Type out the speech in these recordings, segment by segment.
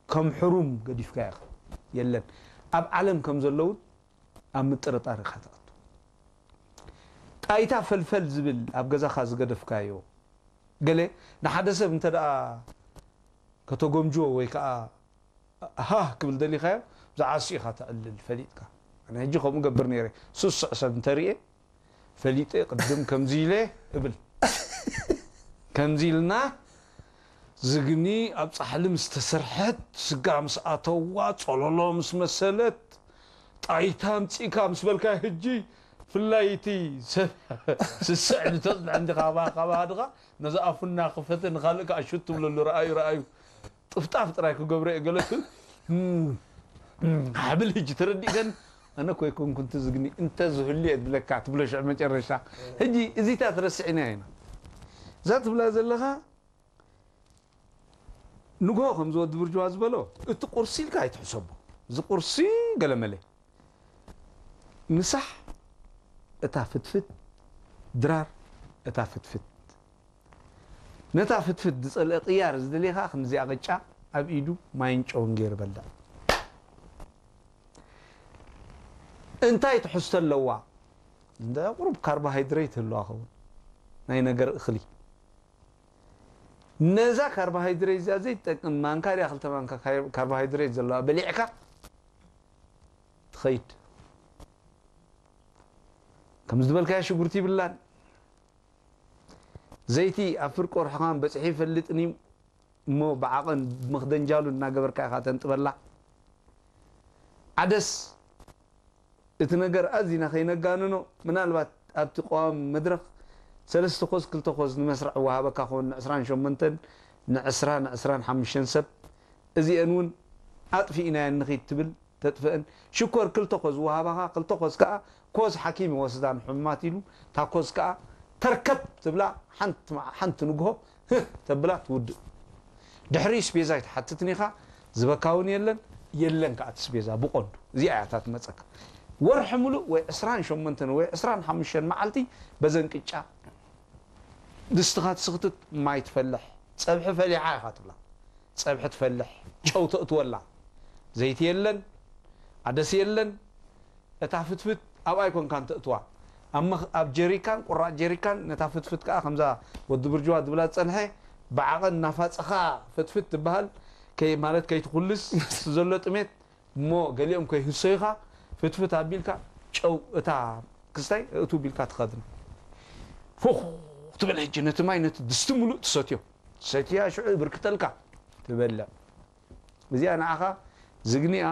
ከም ሕሩም ገዲፍካ ኢኻ። የለን። ኣብ ዓለም ከም ዘለውን ኣብ ምጥርጣር ኢኻ ትኣቱ። ጣይታ ፈልፈል ዝብል ኣብ ገዛኻ ዝገደፍካዮ፣ ገለ ንሓደ ሰብ እንተ ደኣ ከተጎምጅዎ ወይ ከኣ ሃህ ክብል ደሊኻዮ፣ ዝዓሱ ኢኻ ተዕልል ፈሊጥካ። ኣነ ሕጂ ከምኡ ገብር ነይረ። ስሱዕ ሰብ እንተርእየ ፈሊጠ ቅድም ከምዚ ኢለ እብል። ከምዚ ኢልና ዝግኒ ኣብ ጻሕሊ ምስ ተሰርሐት፣ ስጋ ምስ ኣተዋ፣ ጸሎሎ ምስ መሰለት፣ ጣይታ ኣምጺእካ ምስ በልካ፣ ሕጂ ፍላይ እቲ ሰብ ስስዕ ልተጽንዐ እንዲ ካባ ካባ ድኻ ነዚ ኣፉና ክፈተ ንኻልእ ከዓ ሹት ትብለሉ። ረኣዩ ረኣዩ ጥፍጣፍ ጥራይ ክገብሮ እየ ገለ ትብል። እም፣ እም፣ ሓብል ሕጂ ተረዲእከን። ኣነ እኮ ኣይኮንኩን ትዝግኒ እንተ ዝህሉ እየ ዝብለካ ትብሎ ሽዑ መጨረሻ። ሕጂ እዚታት ረስዕና ኢና። እዛ ትብላ ዘለኻ ንግሆ ከምዚ ወዲ ብርጅዋ ዝበሎ እቲ ቁርሲ ኢልካ ኣይትሕሰቦ። እዚ ቁርሲ ገለመለ ምሳሕ እታ ፍትፍት፣ ድራር እታ ፍትፍት። ነታ ፍትፍት ዝጸልአ ቅያር ዝደልየ ከኣ ከምዚኣ ቅጫ ኣብ ኢዱ ማይን ጨውን ገይሩ በልዕ። እንታይ ትሕዝቶ ኣለዋ? እንደ ቁሩብ ካርቦሃይድሬት ህልዋ ኸውን ናይ ነገር እኽሊ። ነዛ ካርቦሃይድሬት እዚኣ ዘይትጠቅም ማንካ ድያ ክልተ ማንካ ካይ- ካርቦሃይድሬት ዘለዋ በሊዕካ ትኸይድ። ከም ዝበልካዮ ሽጉርቲ ይብላን። ዘይቲ ኣብ ፍርቂ ወርሕኻን በጺሑ ይፈልጥን እዩ እሞ ብዓቐን ብመኽደንጃሉ እናገበርካ ኢኻ ተንጥበላ። ዓደስ እቲ ነገር ኣዚና ከይነጋንኖ፣ ምናልባት ኣብቲ ቀዋሚ መድረኽ ሰለስተ ኮዝ ክልተ ኮዝ ንመስርዕ ወሃበካ ክኸውን ንዕስራን ሸሞንተን ንዕስራ ንዕስራን ሓሙሽተን ሰብ እዚአን እውን ኣጥፊእናየን ንኺድ ትብል ተጥፍአን። ሽኮር ክልተ ኮዝ ወሃባኻ ክልተ ኮዝ ከኣ ኮዝ ሓኪም ይወስዳ ንሕሙማት ኢሉ እታ ኮዝ ከኣ ተርከብ ትብላ። ሓንቲ መዓ- ሓንቲ ንግሆ ህህ ተብላ ትውድእ። ድሕሪ ስቤዛ ኣይትሓትትን ኢኻ። ዝበካ እውን የለን። የለን ከኣ እቲ ስቤዛ ብቐንዱ እዚኣ እያ እታ ትመጸካ። ወርሒ ሙሉእ ወይ ዕስራን ሸሞንተን ወይ ዕስራን ሓሙሽተን መዓልቲ በዘን ቅጫ ድስትኻ ትስኽትት፣ ማይ ትፈልሕ፣ ጸብሒ ፈሊሓ ኢኻ ትብላ። ጸብሒ ትፈልሕ፣ ጨው ተእትወላ። ዘይቲ የለን፣ ኣደስ የለን። እታ ፍትፍት ኣብኣ ኣይኮንካን ተእትዋ። ኣብ መኽ- ኣብ ጀሪካን፣ ቁራጭ ጀሪካን፣ ነታ ፍትፍት ከኣ ከምዛ ወዲ ብርጅዋ ዝብላ ዝጸንሐ ብዓቐን እናፋጸኻ ፍትፍት ትበሃል። ከይ- ማለት ከይትኹልስ ምስቲ ዘሎ ጥሜት እሞ ገሊኦም ከይህሰዩኻ ፍትፍት ኣቢልካ ጨው እታ ክስታይ እቱ ቢልካ ትኸድን። ፉኽ ትብል ሕጂ ነቲ ማይ ነቲ ድስቲ ሙሉእ ትሰትዮ። ሰትያ ሽዑ ብርክተልካ ትበልዕ። እዚኣ ንዓኻ ዝግኒያ፣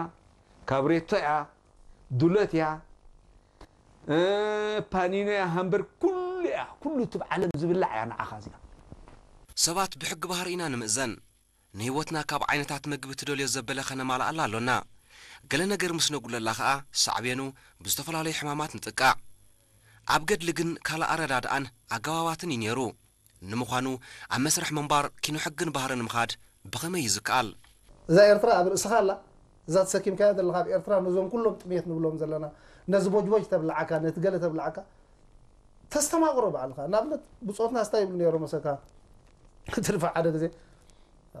ካብሬቶ እያ፣ ዱለት እያ፣ እ፣ ፓኒኖ እያ፣ ሃምበር ኩሉ እያ። ኩሉ እቲ ብዓለም ዝብላዕ እያ ንዓኻ እዚኣ። ሰባት ብሕጊ ባህሪ ኢና ንምእዘን። ንህይወትና ካብ ዓይነታት መግቢ ትደልዮ ዘበለ ከነማልኣላ ኣሎና። ገለ ነገር ምስ ነጉለላ ኸኣ ሳዕቤኑ ብዝተፈላለዩ ሕማማት ንጥቃዕ። ኣብ ገድሊ ግን ካልእ ኣረዳድኣን ኣገባባትን እዩ ነይሩ። ንምዃኑ ኣብ መስርሕ ምንባር ኪኖ ሕግን ባህርን ምኻድ ብኸመይ እዩ ዝከኣል? እዛ ኤርትራ ኣብ ርእስኻ ኣላ። እዛ ተሰኪምካያ ዘለኻ ኣብ ኤርትራ ነዞም ኩሎም ጥሜት ንብሎም ዘለና ነዚ ቦጅቦጅ ተብልዓካ ነቲ ገለ ተብልዓካ ተስተማቕሮ ባዕልኻ። ንኣብነት ብጾትና ስታይ ይብሉ ነይሮም መሰካ ትርፋ ሓደ ግዜ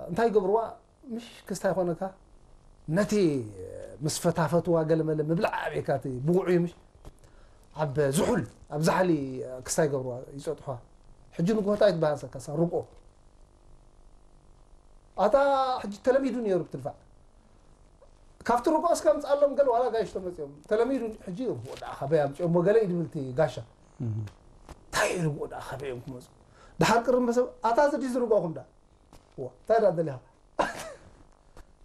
እንታይ ይገብርዋ ምሽ ክስታይ ኮነካ ነቲ ምስ ፈታፈትዋ ገለመለ ምብላዕ ኣቤካ እቲ ብቑዕ እዩ ምሽ ኣብ ዝሑል ኣብ ዛሕሊ ክስታይ ይገብርዋ ይጸጥሖ ሕጂ ንጎታ ይትበሃሰካ ሳ ርቆ ኣታ ሕጂ ተለሚዱ ነይሩ ብትድፋዕ ካብቲ ርቆ እስካ ምጻሎም ገለ ዋላ ጋይሽ ተመጽኦም ተለሚዱ ሕጂ ወዳ ካበይ ኣምጽኦም ወገለ ይድብልቲ ጋሻ እንታይ ኢሉ ወዳ ካበይ እዮም ክመጹ ድሓር ቅርም በሰብ ኣታ ዝዲ ዝርቆኹም ዳ እንታይ ዳ ደሊኻ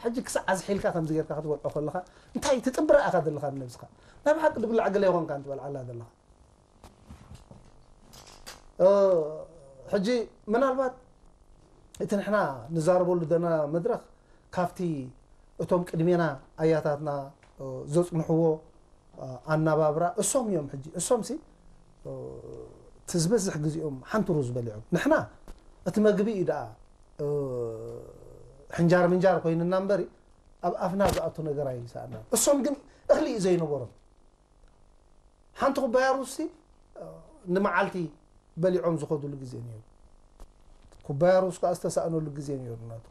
ሕጂ ክሳዕ ኣዝሒልካ ከምዚ ጌርካ ክትበልዖ ከለኻ እንታይ ትጥብራ ኢኻ ዘለኻ ንነብስኻ ናይ ብሓቂ ድብላዕ ገለ ይኾንካ እንትበልዓላ ዘለኻ ሕጂ ምናልባት እቲ ንሕና ንዛረበሉ ዘለና መድረኽ ካብቲ እቶም ቅድሜና ኣያታትና ዘፅንሕዎ ኣናባብራ እሶም እዮም ሕጂ እሶም ሲ እቲ ዝበዝሕ ግዜኦም ሓንቲ ሩዝ በሊዖም ንሕና እቲ መግቢ እዩ ደኣ ሕንጃር ምንጃር ኮይንና እምበሪ ኣብ ኣፍና ዝኣቱ ነገር ኣይሰኣና እሶም ግን እኽሊ እዩ ዘይነበሮም ሓንቲ ኩባያ ሩዝ ሲ ንመዓልቲ በሊዖም ዝኸዱሉ ግዜ ነይሩ ኩባያ ሩዝ ከዓ ዝተሳእነሉ ግዜ ነይሩ ናቱ